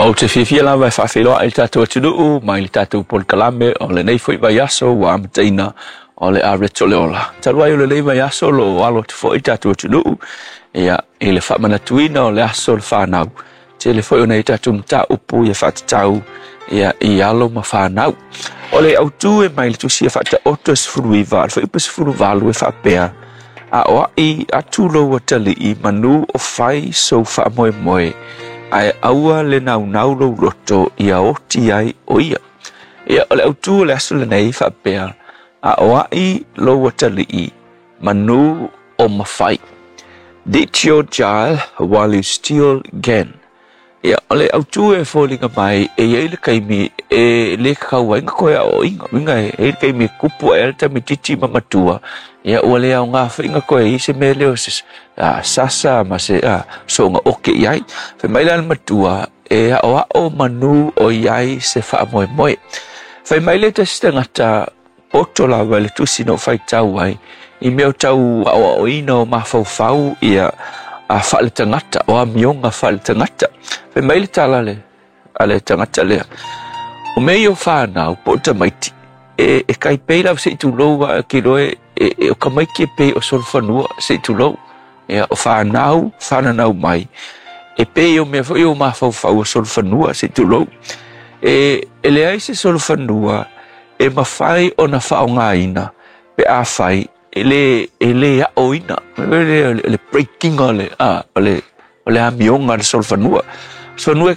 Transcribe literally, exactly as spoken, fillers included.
Ou te fiafia lava e faafeiloai i le tatou atunuu mai le tatou polokalame o lenei foi vaiaso ua amataina o le Areto o le Ola. Talu ai o lenei vaiaso o lo o alo atu foi le tatou atunuu ia, i le faamanatuina o le aso o le fanau. Tele foi o nai tatou mataupu ia faatatau ia, i alo ma fanau. O le autu e mai le tusi e faataoto e sefulu iva, le fuaiupu sefulu valu e faapea, aoai atu lou atalii manu o fai sou faamoemoe, ae aua le naunau lou loto ia oti ai o ia. Ia, o le autu o le aso lenei faapea, aoai lou atalii manu o mafai. Teach your child while you still can. Ia, o le autu e foliga mai e iai le taimi e le kakau ai na toe aoaoina. Uiga e iai le taimi e tupu ae ai le tamaititi ma matua, ia ua le aoga foi na toe i se mea lea o se a, sasa ma se a, soona oke i ai. Fai mai la le matua e aoao manu o i ai se faamoemoe. Fai mai le tasi tagata poto lava i le tusi na ou faitau ai, i mea o tau aoaoina o mafaufau ia a faaletagata, o amioga faaletagata. Fai mai le tala le, a le tagata lea, o mea ia o fanau po o tamaiti, e, e tai pei lava se i tulou a kiloe e, e, o tamaiti e pei o solofanua se i tulou. Ia, o fanau, fananau mai, e pei o mea foi o mafaufau o solofanua se i tulou. E, e leai se solofanua e mafai ona faaaogaina pe afai e le, e le aoina. Le, le breaking o le, a, o le, o le amioga a le solofanua. Solofanua e